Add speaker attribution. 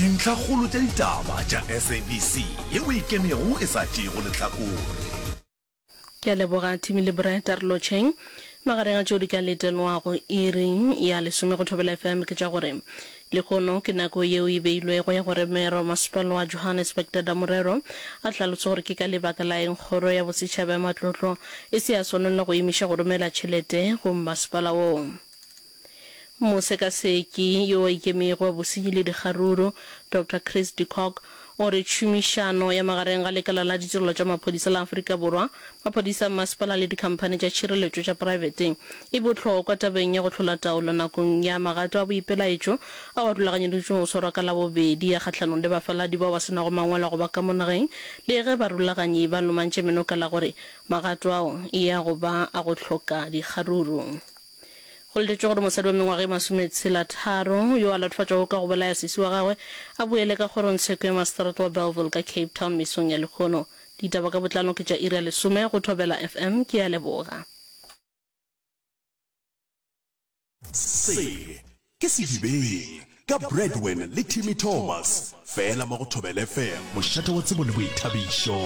Speaker 1: Dintlhakgolo tša ditaba tša SABC yeo e ikemego e sa tšeego lehlakore.
Speaker 2: Ke a leboga Timmy le Brett, a re lotšheng. Magareng a tšeo di ka letelwago iring ya lesome go Thobela FM ke tša gore lehono ke nako yeo e beilwego ya gore Meyara wa Masepala wa Johannesburg Dada Morero a hlalose gore ke ka lebaka la eng Kgoro ya Bosetšhaba ya Matlotlo e se ya swanela go emiša go romela tšhelete go mmasepala woo. Mosekaseki yo a ikemego wa bosenyi le dikgaruru, Doctor Chris de Kock, o re tšhomišano ya magareng ga lekala la ditirelo tša maphodisa la Afrika Borwa, maphodisa a mmasepala le dikhamphani tša tšhireletšo tša praebete e bohlokwa tabeng ya go hlola taolo nakong ya magato a boipelaetšo ao a rulaganyeditšwego go swarwa ka Labobedi a kgahlanong le bafaladi bao ba se nago mangwalo a go ba ka mo nageng le ge barulaganyi ba lomantše meno ka la gore magato ao e ya go ba a go hloka dikgaruru. Go letetšwe gore mosadi wa mengwaga e masometshela-tharo yo a latofatšwago ka go bolaya sesi wa gagwe a boele ka kgorongtsheko ya maseterata wa Bellville ka Cape Town mesong ya lehono. Ditaba ka botlalo ke tša iri ya lesome go Thobela FM. Ke a leboga.
Speaker 1: Se ke Sedibeng ka Bradwin le Timmy Thomas, fela mo go Thobela FM, mošate wa tsebo le boithabišo.